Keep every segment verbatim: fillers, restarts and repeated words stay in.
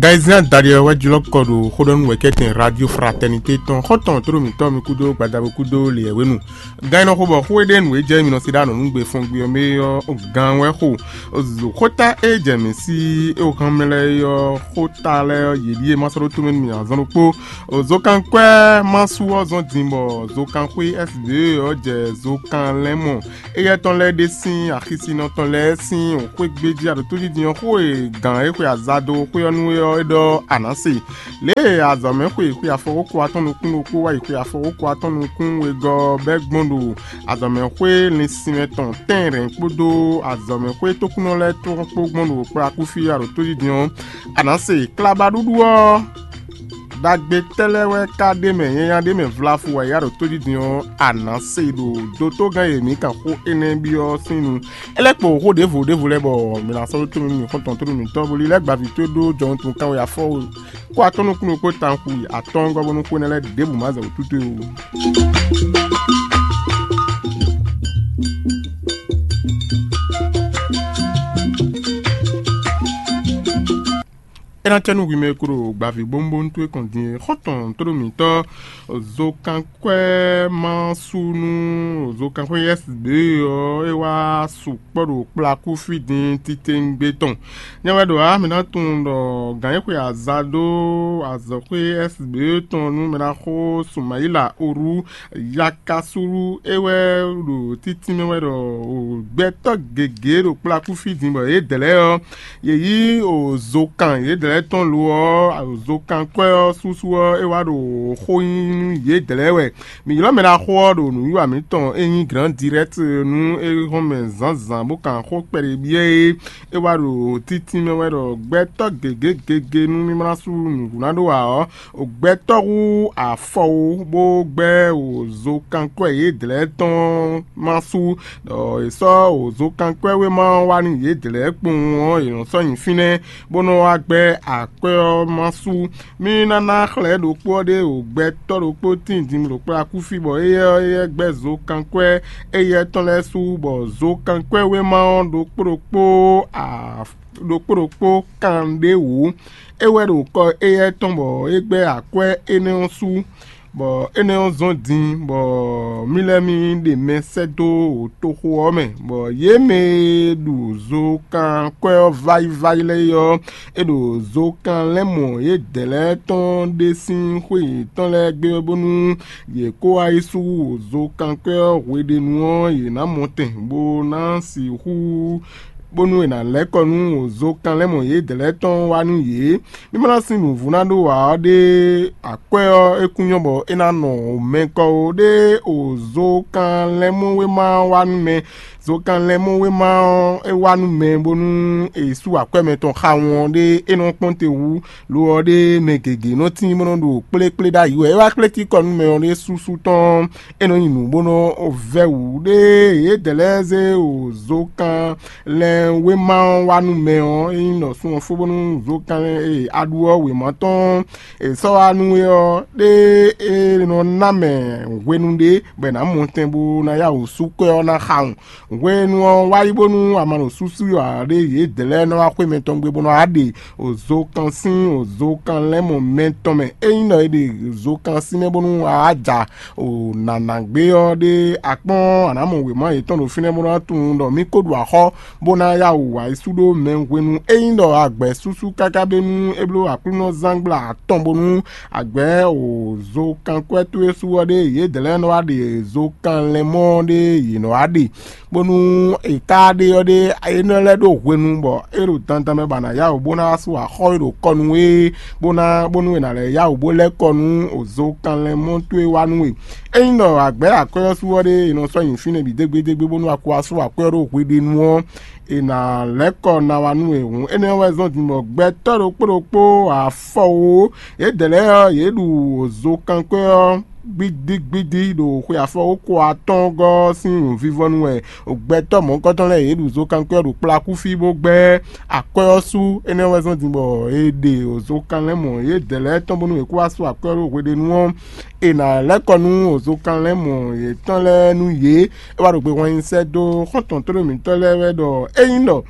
Gayizia Daliɔ wɛ jlɔ́ kɔ ɖo xóɖɔ́nú wɛ̌kɛ́tɛn Radio Fraternité tɔn xɔ́ntɔn tlóló mǐtɔn mi kúdó gbadabo kúdó lě wɛ̌wénu. Gan e nɔ xo bɔ xó e ɖe nǔ e jɛ mi nɔ se ɖó anɔ̌nugbe fɔngbe ɔ́ mɛ ɔ́, gan wɛ xo. Xóta e jɛ mǐ sí é wǒ hán mɛ lɛ́ɛ é ɔ́, xóta lɛ́ɛ ɔ́, yě ɖíe ma sɔ́ ɖó tomɛ nú mì azɔn ɖokpó. Zokankwɛ́ ma su ɔ́ zɔ́n din bɔ zokanxwé S B E ɔ́ jɛ zokan lɛ́ɛ mɔ. Éyɛ́ tɔn lɛ́ɛ ɖe sín axisinɔ tɔn lɛ́ɛ sín xwé gbéjí aɖǒtójijin ɔ́ xó e gǎn e xwe azado xwé ɔ́ nú é ɔ́ é ɖɔ a nǎ se. Lě e azɔ̌mɛxwe xwe afɔwókɔ atɔ́ nukún ɖokpó wá yi xwe afɔwókɔ atɔ́ nukún wegɔ́ ɔ́ bɛ́ gbɔn ɖo azɔ̌mɛxwé linsinmɛ tɔn tɛ́nrɛn kpódó azɔ̌mɛxwé tókúnɔ lɛ́ɛ tɔn kpó gbɔn ɖo kplakúfí aɖǒtójijin ɔ́, a nǎ se. Klabaɖuɖu ɔ́, ɖagbe tɛ́ lɛ́ɛ wɛ ka ɖ'é mɛ, nyanya ɖ'é mɛ vlafu wɛ ya ɖo tójijin ɔ́, a nǎ se ɖo dotogán e mǐ kan xó énɛ́ byɔ́ sín nu. É lɛ́ kpo xó ɖěvo ɖěvo lɛ́ɛ bɔ mǐ ná sɔ́ ɖó tónú nú mǐ xɔ́ntɔn tónú mǐtɔn, bó lílɛ́ gbaví towe ɖó jɔhɔn tun kanwe afɔwo kó atɔ́ nukúnnú kpó tanxu atɔ́ɔ́ngɔ́ bónú xó énɛ́ lɛ́ɛ ɖěbǔ má zɛ wǔ tútú ó. É ná cɛ nú hwi mɛ e ko ɖo gbaví bónbónú towe kɔn din é. Xɔ́ntɔn tóɖó mǐtɔn zokankwɛ́ ma sú nú zokankwɛ́ S B ɔ́, é wá sukpɔ́ ɖo kplakú fí din titewungbe tɔn. Nyɛ wɛ ɖo ǎ, mǐ ná tunwun ɖɔ gǎn e xwe aza dó azɔ̌xwé S B tɔn nú mɛ ná xó Sumayila Oru Yakasulu é wɛ ɖo títínmɛ wɛ ɖɔ gbɛtɔ́ gěgé ɖo kplakú fí din bɔ yědɛɛ lɛ́ɛ ɔ́, yě yí zokan yědɛɛ lɛ́ɛ tɔn lo ɔ́, zokankwɛ́ ɔ́ súsú ɔ́, é wá ɖo xó nyi nú yědɛɛ lɛ́ɛ wɛ. Mǐ ylɔ́ mɛ ɖaxó ɔ́ ɖo nǔwiwa mǐtɔn e nyí Grand Direct nú é hɔn mɛ zǎnzǎn bó kan xó kpɛɖé byɔ́ é. É wá ɖo títínmɛ wɛ ɖɔ gbɛtɔ́ gěgé gěgé nú mí ma ná sú nǔɖuɖu ná ɖó ǎ ɔ́, gbɛtɔ́ hú afɔ wú bó gbɛ́ wǒzokankwɛ́ yědɛɛ tɔn ma sú, ɖɔ è sɔ́ wǒzokankwɛ́ wéma ɔ́ wá nú yědɛɛ kpowun ɔ́, yě nɔ sɔ́ nyi fínɛ́, bó nɔ́ wá gbɛ́ akwɛ́ ɔ́ ma sú. Mí ná ná xlɛ̌ ɖokpó ɔ́ ɖé wǒ gbɛtɔ́ ɖokpó tíin din ɖo kplá kú fí, bɔ éyɛ́ ɔ́, éyɛ́ gbɛ́ zokankwɛ́ éyɛ́ tɔn lɛ́ɛ sú, bɔ zokankwɛ́ wéma ɔ́ ɖokpó ɖokpó a ɖokpó ɖokpó kan ɖé wǔ. É wɛ ɖo kɔ éyɛ́ tɔn bɔ é gbɛ́ akwɛ́ énɛ́ ɔ́ sú, bɔ énɛ́ ɔ́ zɔ́n din, bɔ mí lɛ́ mí ɖe mɛ sɛ́ dó toxo ɔ́ mɛ, bɔ yě mɛ e ɖu zokankwɛ́ ɔ́ váyíváyí lɛ́ɛ é ɔ́, é ɖo zokan lɛ́ɛ mɔ yědɛɛ lɛ́ɛ tɔn ɖe sín xwé yětɔn lɛ́ɛ gbé wɛ bónú yě kó wá yi sú zokankwɛ́ ɔ́ hweɖénu ɔ́, yě ná mɔ tɛn bó ná sixú bónú è nǎ lɛ́ kɔ nú wǒzokanlɛ́mɔ yědɛɛ lɛ́ɛ tɔn wá nú yě. Mí ma ná sín nǔvú ná ɖó ǎ ɔ́ ɖé, akwɛ́ ɔ́, é kún nyɔ́ bɔ é ná nɔ mɛ kɔ ó ɖé, wǒzokanlɛ́mɔ wéma wá nú mɛ. Zokanlɛ́mɔ wéma ɔ́, é wá nú mɛ bónú è sú akwɛ́ mɛtɔn xawun ɔ́ ɖé, é nɔ kpɔ́n te wú, lo ɔ́ ɖé mɛ gěgé nɔ tín bó nɔ ɖo kplékplé ɖ'ayǐ wɛ. É wá kplé tíkɔ nú mɛ ɔ́ ɖé súsú tɔn, é nɔ nyi nǔ bó nɔ vɛ́ wǔ ɖé. Yědɛɛ lɛ́ɛ zé wǒzokan lɛn wéma ɔ́ wá nú mɛ ɔ́, é nyí ɖɔ sun ɔ́ fó bónú zokan e aɖu ɔ́ wěma tɔn è sɔ́ wá nú é ɔ́, ɖé é nɔ ná mɛ hwenu ɖé bɔ è nǎ mɔ tɛn bó ná yá wǔ sú kwɛ́ ɔ́ ná xawun. Hwenu ɔ́ wá yi bónú a ma ɖo súsú ǎ ɖé, yědɛɛ lɛ́ɛ nɔ wá xwé mɛtɔn gbe bó nɔ wá ɖe zokan sín zokan lɛ́ɛ mɔ mɛtɔn mɛ. Ényí ɖɔ è ɖe zokan sín mɛ bónú a wá ja o nǎná gbé ɔ́ ɖé, a kpɔ́n a nǎ mɔ wěma yětɔn ɖo fínɛ́ bó ná tunwun ɖɔ mí ko ɖu axɔ́ bó ná yá wǔ wá yi sú ɖó mɛ hwenu. Ényí ɖɔ a gbɛ̌ súsú káká bónú é bló Aklúnɔzángbla atɔn bónú a gbɛ̌ o zokankwɛ́ towe sú ɔ́ ɖé, yědɛɛ lɛ́ɛ nɔ wá ɖe zokan lɛ́ɛ mɔ ɔ́ ɖé yě nɔ wá ɖe, bónú è ka ɖe ɔ́ ɖé, énɛ́ lɛ́ɛ ɖó hwenu bɔ é ɖo dandan mɛ bɔ a nǎ yá wǔ bó ná wá sú axɔ́ e ɖo kɔ nú we, bó ná bónú è nǎ lɛ́ yá wǔ bó lɛ́ kɔ nú zokan lɛ́ɛ mɔ towe wá nú we. Ényí ɖɔ a gbɛ̌ akwɛ́ ɔ́ sú ɔ́ ɖé, è nɔ sɔ́ nyi fínɛ́ bǐ dégbédégbé bónú a ko wá sú akwɛ́ ɔ́ ɖó hweɖénu ɔ́, è nǎ lɛ́ kɔ ná wá nú we hǔn. Énɛ́ ɔ́ wɛ zɔ́n din bɔ gbɛtɔ́ ɖokpó ɖokpó afɔwo yědɛɛ lɛ́ɛ ɔ́, yě ɖu zokankwɛ́ ɔ́ gbídígbídí ɖo xwe afɔwókɔ atɔ́ɔ́ngɔ́ ɔ́ sín nǔvívɔ́nu wɛ. Gbɛtɔ́ mɔ̌hunkɔtɔn lɛ́ɛ yě ɖu zokankwɛ́ ɔ́ ɖo kplá kú fí bó gbɛ́ akwɛ́ ɔ́ sú. Énɛ́ wɛ zɔ́n din bɔ è ɖe zokan lɛ́ɛ mɔ yědɛɛ lɛ́ɛ tɔn bónú yě kó wá sú akwɛ́ ɔ́ ɖó hweɖénu ɔ́, è nǎ lɛ́ kɔ nú zokan lɛ́ɛ mɔ yětɔn lɛ́ɛ nú yě. É wá ɖo gbe hwan nyi sɛ́ dó xɔ́ntɔn tóɖó mǐtɔn lɛ́ɛ wɛ ɖɔ ényí ɖɔ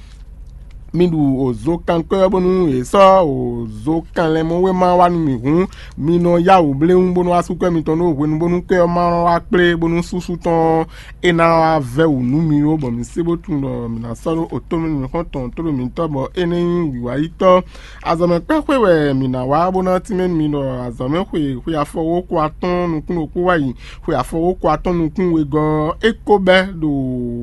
Mi ɖu òzo kankwɛ́ ɔ́ bónú yě sɔ́ òzo kanlɛnmɔwéma wá nú mì hǔn, mi nɔ yá wǔ bléwún bónú wá sú kwɛ́ mitɔn ɖó hwenu bónú kwɛ́ ɔ́ ma wá kplé bónú súsú tɔn ɔ́ é ná wá vɛ́ wǔ nú mi ó, bɔ mi sé bó tunwun ɖɔ mǐ ná sɔ́ ɖó otó mɛ nǔxɔ́ntɔn tó ɖo mitɔ́ bɔ é nɛ́ nyí wǐwáyítɔ́. Azɔ̌mɛkpɛ́xwé wɛ mǐ ná wá bó ná tínmɛ nú mi ɖɔ azɔ̌mɛxwe xwe afɔwókɔ atɔ́ɔ́n nukún ɖokpó wá yi xwe afɔwókɔ atɔ́ɔ́n nukún wegɔ́ ɔ́, é ko bɛ́ ɖo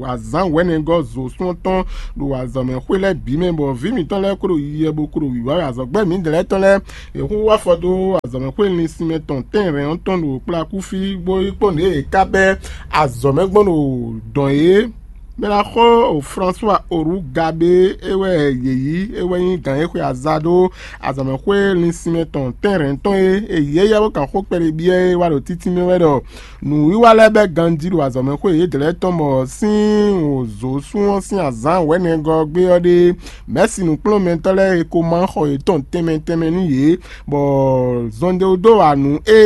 azǎn wɛ̌nɛgɔ́ zǒsún ɔ́ tɔn ɖo azɔ̌mɛxwé lɛ́ɛ bǐ mɛ, bɔ vǐ mǐtɔn lɛ́ɛ ko ɖo yiyɛ bó ko ɖo wǐwá wɛ azɔ̌gbɛ́ mǐdɛɛ lɛ́ɛ tɔn lɛ́ɛ. Yě hu wá afɔ dó azɔ̌mɛxwé linsin mɛ tɔn tɛ́nrɛn ɔ́ tɔn ɖo kplá kúfí, bó yi kpɔ́n ɖě è ká bɛ́ azɔ̌ mɛ gbɔn ɖo dɔn yě. Mɛ ná xo François Oru Gabé, é wɛ yě yí, é wɛ nyí gǎn e xwe aza ɖó azɔ̌mɛxwé linsin mɛ tɔn tɛ́nrɛn tɔn e è yí éyɛ́ bó kan xó kpɛɖé byɔ́ é wá ɖo títí mɛ wɛ ɖɔ nǔwiwa lɛ́ɛ bɛ́ ganjí ɖo azɔ̌mɛxwé yědɛɛ lɛ́ɛ tɔn, bɔ sín wǒzǒsún ɔ́ sín azǎn wɛ̌nɛgɔ́ gbé ɔ́ ɖé, mɛ̌si nǔkplɔ́nmɛtɔ́ lɛ́ɛ e ko má xɔ yětɔn tɛnmɛ tɛnmɛ nú yě, bɔ zɔnɖéwúdó wa nǔ e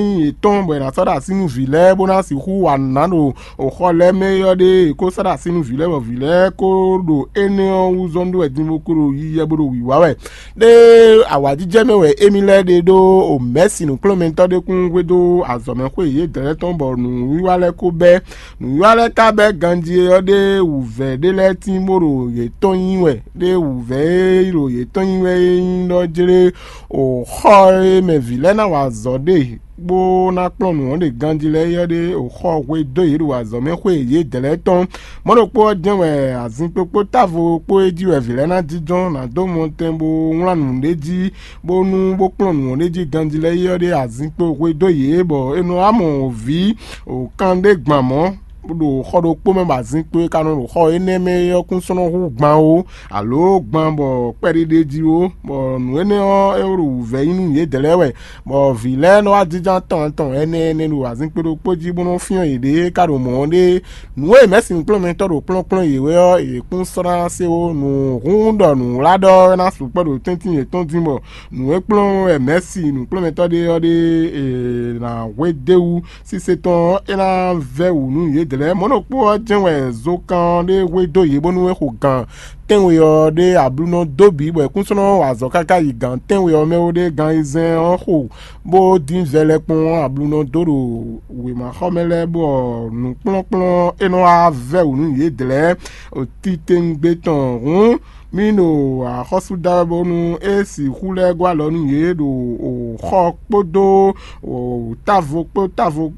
nyí yětɔn bɔ è nǎ sɔ́ ɖo así nú vǐ lɛ́ɛ bó ná sixú wa nǔ ná ɖo xɔ lɛ́ɛ mɛ é ɔ́ ɖe, è ko sɔ́ ɖo así nú vǐ lɛ́ɛ bɔ vǐ lɛ́ɛ ko ɖo énɛ́ ɔ́ wú zɔ́n ɖó wɛ din bó ko ɖo yiyɛ bó ɖo wǐwá wɛ. Ɖé awǎjijɛ mɛ wɛ émí lɛ́ɛ ɖe ɖó o mɛ̌si nǔkplɔ́nmɛtɔ́ ɖé kún hwedó azɔ̌mɛxwé yědɛɛ lɛ́ɛ tɔn bɔ nǔwiwa lɛ́ɛ ko bɛ́. Nǔwiwa lɛ́ɛ ka bɛ́ ganjí ɔ́ ɖé wǔvɛ́ ɖé lɛ́ɛ tín bó ɖo yě tɔn nyi wɛ, ɖé wǔvɛ́ e ɖo yě tɔn nyi wɛ é nyí ɖɔ jlé o xɔ e mɛ vǐ lɛ́ɛ ná wa azɔ̌ ɖe bó ná kplɔ́n nǔ ɔ́ ɖe ganjí lɛ́ɛ é ɔ́ ɖé o xɔ hwe dó yě ɖo azɔ̌ mɛ xwé yědɛɛ lɛ́ɛ tɔn. Mɔ̌ ɖokpó ɔ́ jɛ́n wɛ azinkpo kpó távo kpó e jí wɛ vǐ lɛ́ɛ ná jínjɔ́n ná dó mɔtɛn bó wlán nǔ ɖé jí, bónú bó kplɔ́n nǔ ɔ́ ɖ'é jí ganjí lɛ́ɛ é ɔ́ ɖé azinkpo hwe dó yě, bɔ è nɔ wá mɔ vǐ o kan ɖé gban mɔ̌ ɖo xɔ ɖokpó mɛ, bɔ azinkpo e ka nɔ ɖo xɔ énɛ́ mɛ é ɔ́ kún sɔ́ nɔ hú gban ó, alo gban bɔ kpɛɖé ɖ'é jí ó, bɔ nǔ énɛ́ ɔ́ é ɖo wǔvɛ́ nyí nú yědɛɛ lɛ́ɛ wɛ, bɔ vǐ lɛ́ɛ nɔ wá jínjɔ́n atɔn atɔn ɛnɛ ɛnɛ ɖo azinkpo ɖokpó jí bó nɔ́ fyɔ́n yěɖée ká ɖo mɔ̌ ɔ́ ɖée. Nǔ e mɛ̌si nǔkplɔ́nmɛtɔ́ ɖo kplɔ́nkplɔ́n yě wɛ ɔ́, yě kún sɔ́ ná se ó. Nǔ hún ɖɔ nǔwlá ɖɔ ná sukpɔ́ ɖo tɛ́ntin yětɔn dín bɔ nǔ e kplɔ́n wɛ mɛ̌si nǔkplɔ́nmɛtɔ́ ɖé ɔ́ ɖe è nǎ hwedó wú sísé tɔn ɔ́, é ná vɛ́ wǔ nú yědɛɛ lɛ́ɛ. Mɔ̌ ɖokpó ɔ́ jɛ́n wɛ zokan ɔ́ ɖe hwedó yě bónú é xo gan tɛ́nwe ɔ́ ɖé ablunɔ dó bǐ bɔ é kún sɔ́ nɔ wa azɔ̌ káká yi gan tɛ́nwe ɔ́ mɛ ó ɖé gan ayizɛ́n ɔ́ xo bó dín vɛlɛkpɔ́n ablunɔ dó ɖo wěmaxɔmɛ lɛ́ɛ, bɔ nǔkplɔ́nkplɔ́n e nɔ wá vɛ́ wǔ nú yědɛɛ lɛ́ɛ titewungbe tɔn hǔn, mì ɖo axɔ́sú da wɛ bónú é sixú lɛ́ gɔ́ alɔ nú yě ɖo xɔ kpódó távo kpó távo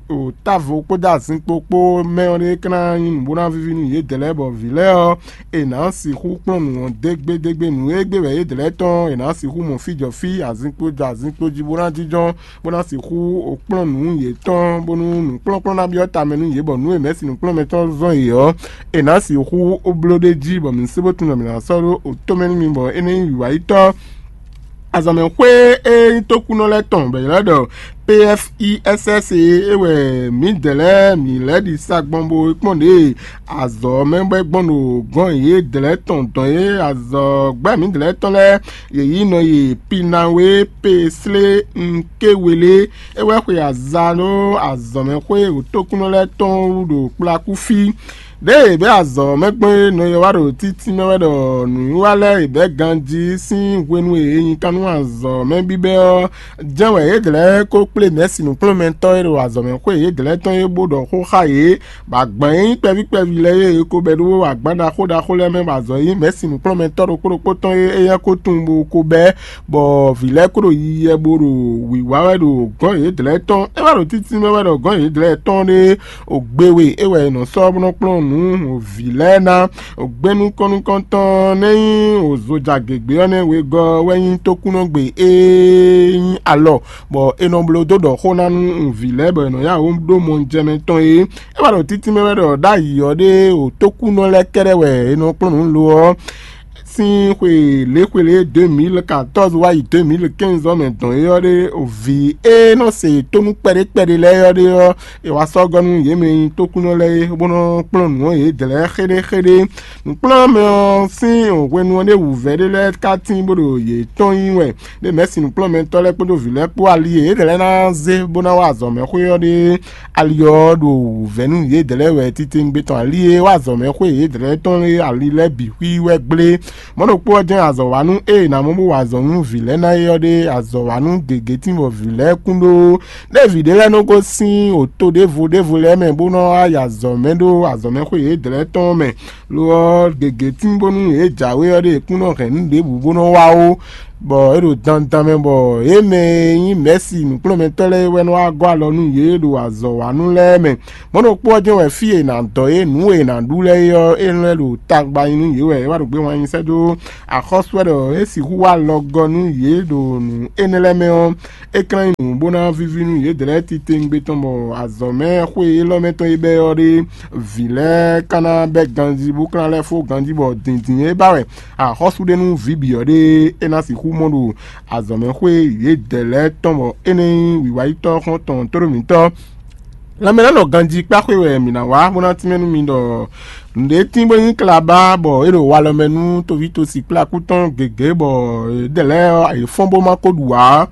távo kpódó azinkpo kpó mɛ ɔ́ ɖé ká ná nyí nǔ bó ná víví nú yědɛɛ lɛ́ɛ, bɔ vǐ lɛ́ɛ ɔ́, è nǎ sixú kplɔ́n nǔ ɔ́ dégbédégbé. Nǔ e gbé wɛ yědɛɛ lɛ́ɛ tɔn è nǎ sixú mɔ fí jɔ fí, azinkpo jɔ azinkpo jí bó ná jínjɔ́n, bó ná sixú kplɔ́n nǔ yětɔn, bónú nǔkplɔ́nkplɔ́n ná byɔ́ tamɛ nú yě, bɔ nǔ e mɛ̌si nǔkplɔ́nmɛtɔ́ zɔ́n yě ɔ́, è nǎ sixú bló ɖ'é jí, bɔ mǐ sé bó tunwun ɖɔ mǐ ná sɔ́ ɖó tomɛ nú mi, bɔ é ná nyí wǐwáyítɔ́. Azɔ̌mɛxwé e nyí tókúnɔ lɛ́ɛ tɔn bɔ è ylɔ́ ɖɔ P F I S S e é wɛ mǐdɛɛ lɛ́ɛ mǐ lɛ́ ɖi sa gbɔn bó kpɔ́n ɖě azɔ̌ mɛ bɔ é gbɔn ɖo gɔ̌n yědɛɛ lɛ́ɛ tɔn dɔn e azɔ̌gbɛ́ mǐdɛɛ lɛ́ɛ tɔn lɛ́ɛ yě yí nɔ yi Pinawe Peslé Nkewelé, é wɛ xwe aza ɖó azɔ̌mɛxwé tókúnɔ lɛ́ɛ tɔn wú ɖo kplakú fí. Ɖěe è bɛ́ azɔ̌ mɛ gbɔn é nɔ e wá ɖo títí mɛ wɛ ɖɔ nǔwiwa lɛ́ɛ è bɛ́ ganjí sín hwenu e è nyi kan nú azɔ̌ mɛ bíbɛ́ ɔ́, jɛ́n wɛ yědɛɛ lɛ́ɛ ko kplé mɛ̌si nǔkplɔ́nmɛtɔ́ e ɖo azɔ̌ mɛ xwé yědɛɛ lɛ́ɛ tɔn é bó ɖɔ xó xá yě, bɔ agban e nyí kpɛví kpɛví lɛ́ɛ é è ko bɛ́ ɖó agban ɖaxó ɖaxó lɛ́ɛ mɛ, bɔ azɔ̌ e nyí mɛ̌si nǔkplɔ́nmɛtɔ́ ɖokpó ɖokpó tɔn é éyɛ́ ko tunwun bó ko bɛ́, bɔ vǐ lɛ́ɛ ko ɖo yiyi bó ɖo wǐwá wɛ ɖo gɔ̌n yědɛɛ lɛ́ɛ tɔn. É wá ɖo títí mɛ wɛ ɖɔ gɔ̌n yědɛɛ lɛ́ɛ tɔn ɖé Ogbéwe é wɛ è nɔ sɔ́ bó nɔ́ kplɔ́n nǔ vǐ lɛ́ɛ ná. Ogbé nukɔn nukɔntɔn nɛ́ nyí òzojagěgbé ɔ́ nɛ́ wegɔ́ wɛ nyí tókúnɔgbe e nyí alɔ, bɔ è nɔ bló dó ɖɔ xó ná nú vǐ lɛ́ɛ bɔ è nɔ yá wǔ ɖó mɔjɛmɛ tɔn é. É wá ɖo títí mɛ wɛ ɖɔ ɖ'ayǐ ɔ́ ɖé o tókúnɔ lɛ́ɛ kɛ́ɖɛ́ wɛ è nɔ kplɔ́n nǔ lo ɔ́. Sín xwe lě xwe lě deux mille quatorze wá yi deux mille quinze ɔ́ mɛ dɔn é ɔ́ ɖé, vǐ e nɔ se tónú kpɛɖé kpɛɖé lɛ́ɛ ɔ́ ɖé ɔ́, è wá sɔ́ gɔ́ nú yě mɛ e nyí tókúnɔ lɛ́ɛ é, bó nɔ́ kplɔ́n nǔ ɔ́ yědɛɛ lɛ́ɛ xéɖéxéɖé. Nǔkplɔ́nmɛ ɔ́ sín hwenu ɔ́ ɖé wǔvɛ́ ɖé lɛ́ɛ ka tín bó ɖo yě tɔn nyi wɛ, ɖé mɛ̌si nǔkplɔ́nmɛtɔ́ lɛ́ɛ kpódó vǐ lɛ́ɛ kpó ali e yědɛɛ lɛ́ɛ ná zé bó ná wá azɔ̌mɛxwé ɔ́ ɖé. Ali ɔ́ ɖo wǔvɛ́ nú yědɛɛ lɛ́ɛ wɛ titewungbe tɔn ali e wá azɔ̌mɛxwé yědɛɛ lɛ́ɛ tɔn e ali lɛ́ɛ bǐ xwí wɛ gblé. Mɔ̌ ɖokpó ɔ́ jɛ́n azɔ̌wanú e è nǎ mɔ bó wa azɔ̌ nú vǐ lɛ́ɛ ná é ɔ́ ɖe azɔ̌wanú gěgé tín bɔ vǐ lɛ́ɛ kún ɖó. Ɖé vǐ ɖé lɛ́ɛ nɔ gosín oto ɖěvo ɖěvo lɛ́ɛ mɛ bó nɔ́ wá yi azɔ̌ mɛ ɖó azɔ̌mɛxwé yědɛɛ lɛ́ɛ tɔn mɛ. Lo ɔ́, gěgé tín bónú yě jǎwe ɔ́ ɖe kún nɔ hɛn nǔ ɖěbǔ bó nɔ́ wá ó, bɔ é ɖo dandan mɛ bɔ yě mɛ e nyí mɛ̌si nǔkplɔ́nmɛtɔ́ lɛ́ɛ é wɛ nɔ wá gɔ́ alɔ nú yě ɖo azɔ̌wanú lɛ́ɛ mɛ. Mɔ̌ ɖokpó ɔ́ jɛ́n wɛ fí e è nǎ dɔ yě nǔ e è nǎ ɖu lɛ́ɛ é ɔ́, é lɛ́ ɖo tagba nyi nú yě wɛ é wá ɖo gbé wanyí sɛ́ dó axɔ́sú wɛ ɖɔ é sixú wá alɔgɔ́ nú yě ɖo nǔ énɛ́ lɛ́ɛ mɛ ɔ́, é ka nyí nǔ bó ná víví nú yědɛɛ lɛ́ɛ titewungbe tɔn bɔ azɔ̌ mɛ xwé élɔ́ mɛ tɔn e bɛ́ ɔ́ ɖe, vǐ lɛ́ɛ ka ná bɛ́ ganjí bó ka ná lɛ́ fó ganjí bɔ dǐndín e ba wɛ axɔ́sú ɖe nú vǐ bǐ ɔ́ ɖe é ná sixú mɔ ɖo azɔ̌ mɛ xwé yědɛɛ lɛ́ɛ tɔn bɔ é nɛ́ nyí wǐwáyítɔ́ xɔ́ntɔn tóɖó mǐtɔn. Lanmɛ ná nɔ ganjí kpáxwé wɛ mǐ ná wá bó ná tínmɛ nú mi ɖɔ nǔɖé tín bó nyí klabá bɔ é ɖo walɔ mɛ nú toví tosi kplá kú tɔn gěgé bɔ yědɛɛ lɛ́ɛ ɔ́, yě fɔ́n bó má ko ɖu ǎ.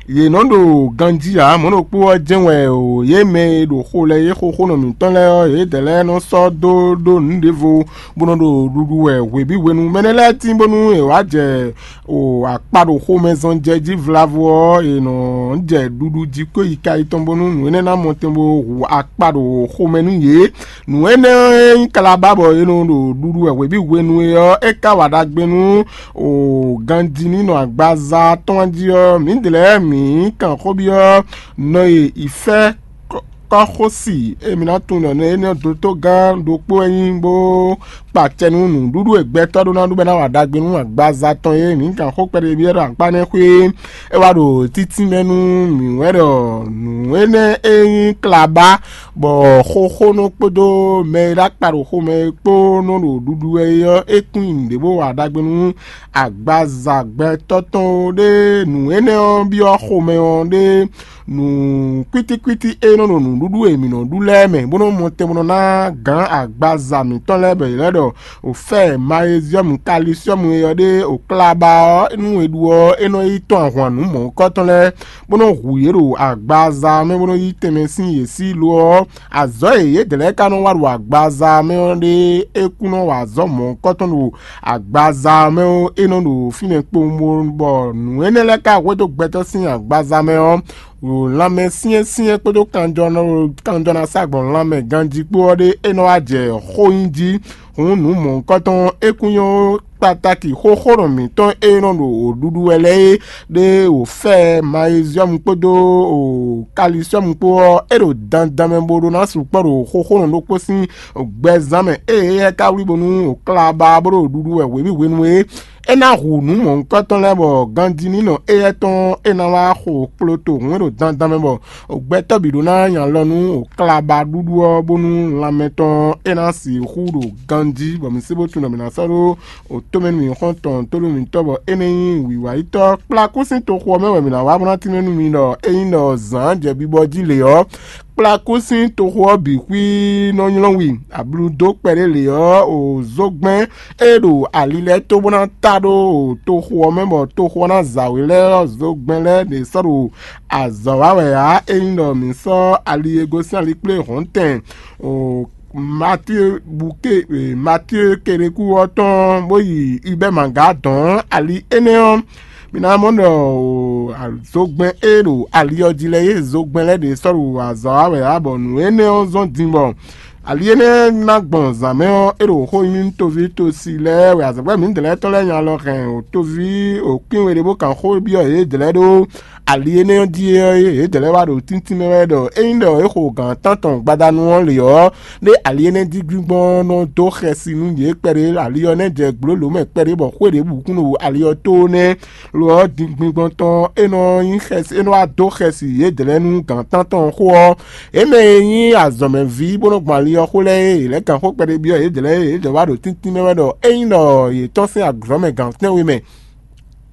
Yě nɔ ɖo ganjí ǎ, mɔ̌ ɖokpó ɔ́ jɛ́n wɛ o yě mɛ e ɖo xo lɛ́ɛ yé xóxónɔ mǐtɔn lɛ́ɛ ɔ́, yědɛɛ lɛ́ɛ nɔ sɔ́ dó ɖó nǔ ɖěvo bó nɔ ɖo ɖuɖu wɛ hwebǐ hwenu. Mɛ énɛ́ lɛ́ɛ tín bónú è wǎ jɛ o akpa ɖo xomɛ zɔn jɛ jí vlavo ɔ́, è nɔ jɛ ɖuɖu jí kó yi ka yi tɔn bónú nǔ énɛ́ ná mɔ tɛn bó hu akpa ɖo xomɛ nú yě. Nǔ énɛ́ e nyí kalabá bɔ è nɔ ɖo ɖuɖu wɛ hwebǐ hwenu e ɔ́, é ka wa ɖagbe nú o ganjí ní nɔ agbaza tɔn jí ɔ́, mǐdɛɛ lɛ́ɛ mǐ kan xó byɔ́ nɔ e ìfẹ́ kɔ́xosi e mǐ ná tunwun ɖɔ nɛ́ énɛ́ dotó gán ɖokpó wɛ nyí bó kpa acɛ nú nǔɖuɖu e gbɛtɔ́ ɖó ná ɖu bɔ é ná wa ɖagbe nú agbaza tɔn é. Mǐ kan xó kpɛɖé byɔ́ ɖo akpá nɛ́ xwé é wá ɖo títínmɛ nú mǐ wɛ ɖɔ nǔ énɛ́ e nyí klabá, bɔ xóxónɔ kpódó mɛ e ɖo akpa ɖo xomɛ é kpó nɔ ɖo ɖuɖu wɛ é ɔ́, é kún nyi nǔɖé bó wa ɖagbe nú agbaza gbɛtɔ́ tɔn ó ɖé. Nǔ énɛ́ ɔ́ byɔ́ xomɛ ɔ́ ɖé nǔ kwítíkwítí e nɔ ɖo nǔɖuɖu e mǐ nɔ ɖu lɛ́ɛ mɛ, bó nɔ mɔ tɛn bó nɔ ná gǎn agbaza mǐtɔn lɛ́ɛ bɔ yě lɛ́ ɖɔ òfɛ́ɛ mayeziɔ́mu kalisiɔ́mu e ɔ́ ɖe òklaba ɔ́, nú è ɖu ɔ́, é nɔ yi tɔ́n ahwan nǔ mɔ̌hunkɔtɔn lɛ́ɛ, bó nɔ hu yě ɖo agbaza mɛ bó nɔ yí tɛnmɛ sín yě sí. Lo ɔ́, azɔ̌ e yědɛɛ lɛ́ɛ ka nɔ wa ɖo agbaza mɛ ɔ́ ɖe é kún nɔ wa azɔ̌ mɔ̌hunkɔtɔn ɖo agbaza mɛ ɔ́, é nɔ ɖo fínɛ́ kpowun, bɔ nǔ énɛ́ lɛ́ɛ ka hwedó gbɛtɔ́ sín agbaza mɛ ɔ́, ɖo lanmɛ syɛ́nsyɛ́n kpódó kanjɔ ná sa gbɔn lanmɛ ganjí kpó ɔ́ ɖé é nɔ wá jɛ xó nyi jí. Hǔn nǔ mɔ̌hunkɔtɔn ɔ́, é kún nyɔ́ kpatáki xóxónɔ mǐtɔn e nɔ ɖo wǒɖuɖu wɛ lɛ́ɛ é ɖé wǒ fɛ mayeziɔ́mu kpódó kalisiɔ́mu kpó ɔ́, é ɖo dandan mɛ bó ɖó ná sukpɔ́ ɖo xóxónɔ ɖokpó sín gbɛzán mɛ ée éyɛ́ ka wlí bónú wǒ klá ba bó ɖo ɖuɖu wɛ hwebǐ hwenu é. É ná hu nǔ mɔ̌hunkɔtɔn lɛ́ɛ bɔ ganjí ní nɔ éyɛ́ tɔn é ná wá xo kploto hǔn e ɖo dandan mɛ bɔ gbɛtɔ́ bǐ ɖó ná nya alɔ nú wǒ klá ba ɖuɖu ɔ́, bónú lanmɛ tɔn é ná sixú ɖo ganjí, bɔ mǐ sé bó tunwun ɖɔ mǐ ná sɔ́ ɖó wǒtomɛnú mǐxɔ́ntɔn tónú mǐtɔn bɔ é nɛ́ nyí wǐwáyítɔ́. Kplá kú sín toxo ɔ́ mɛ wɛ mǐ ná wá bó ná tínmɛ nú mi ɖɔ ényí ɖɔ zǎn jɛ bibɔ jí lě ɔ́, kplá kú sín toxo ɔ́ bǐ xwí nɔ nylɔ́ wi. Abludó kpɛɖé lě ɔ́, o zógbɛ́n e ɖo ali lɛ́ɛ tó bó ná ta ɖó toxo ɔ́ mɛ bɔ toxo ɔ́ ná zawě lɛ́ɛ ɔ́, zógbɛ́n lɛ́ɛ ɖě sɔ́ ɖo azɔ̌ wa wɛ ǎ. Ényí ɖɔ mǐ sɔ́ ali e gosín alikplé hɔ̌ntɛn o Matíe buké Matíe Keɖeku ɔ́ tɔn bó yi Ibɛ́maga dɔn ali énɛ́ ɔ́, mi ná mɔ ɖɔ zogbɛ́n e ɖo ali ɔ́ jí lɛ́ɛ é zogbɛ́n lɛ́ɛ ɖě sɔ́ ɖo azɔ̌ wa wɛ ǎ, bɔ nǔ énɛ́ ɔ́ zɔ́n din bɔ ali énɛ́ ná gbɔn zǎn mɛ ɔ́, é ɖo xó nyi nú toví tosi lɛ́ɛ wɛ azɔ̌gbɛ́ mǐdɛɛ lɛ́ɛ tɔn lɛ́ɛ nya lɔ hɛn toví òkwín we ɖé bó kan xó byɔ́ yědɛɛ lɛ́ɛ ɖó ali énɛ́ ɔ́ jí ɔ́, yědɛɛ lɛ́ɛ wá ɖo tíntín mɛ wɛ ɖɔ ényí ɖɔ é xo gǎn tántɔn gbadanu ɔ́ lě ɔ́, ɖé ali énɛ́ jí gbíngbɔ́n nɔ dó xɛsi nú yě kpɛɖé, ali ɔ́ nɛ́ jɛ gbǒlǒ mɛ kpɛɖé bɔ xwé ɖěbǔ kún ɖo ali ɔ́ tó nɛ́. Lo ɔ́, din gbíngbɔ́n tɔn é nɔ nyí xɛsi, é nɔ wá dó xɛsi yědɛɛ lɛ́ɛ nú gǎn tántɔn xó ɔ́. Yě mɛ e nyí azɔ̌mɛví bó nɔ́ gbɔn ali ɔ́ xó lɛ́ɛ é, yě lɛ́ gǎn xó kpɛɖé byɔ́ yědɛɛ lɛ́ɛ é, yědɛɛ wá ɖo tíntín mɛ wɛ ɖɔ ényí ɖɔ yě tɔ́n sín azɔ̌ mɛ gǎn tɛ́nwe mɛ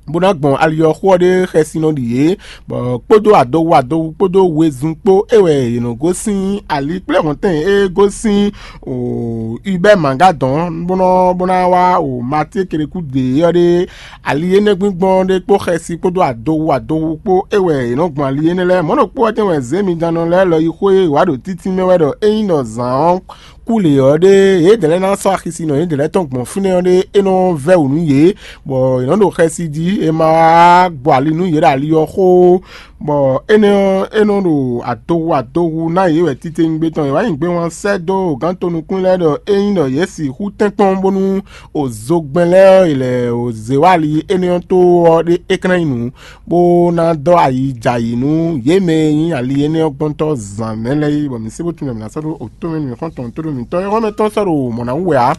bó ná gbɔn ali ɔ́ xó ɔ́ ɖé xɛsi nɔ ɖi yě, bɔ kpódó adohu adohu kpódó wezun kpó é wɛ yě nɔ gosín ali kplé hɔntɛn e gosín o Ibɛ́ Magadɔn bó nɔ bó ná wá o Matíe Keɖeku ɖě ɔ́ ɖé. Ali énɛ́ gbíngbɔ́n ɖé kpó xɛsi kpódó adohu adohu kpó é wɛ yě nɔ gbɔn ali énɛ́ lɛ́ɛ. Mɔ̌ ɖokpó ɔ́ tɛ́n wɛ zěmijannɔ lɛ́ɛ lɔ yi xwé wǎ ɖo títí mɛ wɛ ɖɔ ényí ɖɔ zǎn ɔ́ kú lě ɔ́ ɖé, yědɛɛ lɛ́ɛ ná sɔ́ axisinɔ yědɛɛ lɛ́ɛ tɔn gbɔn fínɛ́ ɔ́ ɖé, é nɔ vɛ́ wǔ nú yě, bɔ yě nɔ ɖo xɛsi jí, è ma wá gbɔ ali nú yě ɖo ali ɔ́ xó. Bɔ énɛ́ ɔ́, é nɔ ɖo adohu adohu ná yě wɛ titewungbe tɔn. È wǎ nyi gbewán sɛ́ dó gǎn tonukún lɛ́ɛ ɖɔ ényí ɖɔ yě sixú tɛ́nkpɔ́n bónú o zogbɛ́n lɛ́ɛ ɔ́, è lɛ o zě wá ali énɛ́ ɔ́ tó ɔ́ ɖé é kɛ́n ná nyí nǔ, bó ná dɔ́ ayi jɛ ayǐ nú yě mɛ e nyí ali énɛ́ ɔ́ gbɔ́ntɔ́ zǎn mɛ lɛ́ɛ é, bɔ mǐ sé bó tunwun ɖɔ mǐ ná sɔ́ ɖó otó mɛ mǐ xɔ́n tɔn tó ɖo mǐtɔn é xɔ́mɛ tɔn sɔ́ ɖo mɔ̌ ná wú wɛ ǎ.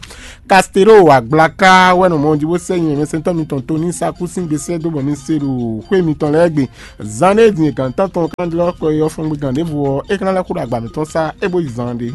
Kastelo agblaka wɛ nɔ mɔ jí bó sɛ́ nyɛ mɛsɛntɔ́ mitɔn tó ní sakú sín gbe sɛ́ dó bɔ mi se ɖo xwé mitɔn lɛ́ɛ gbe. Zan ɖé din gǎn tántɔn kan jlɔ́ kɔ e ɔ́ fɔ́n gbe gǎn ɖěvo ɔ́, é ka ná lɛ́ xo ɖo agba mǐtɔn sá é bó yi zan ɖé.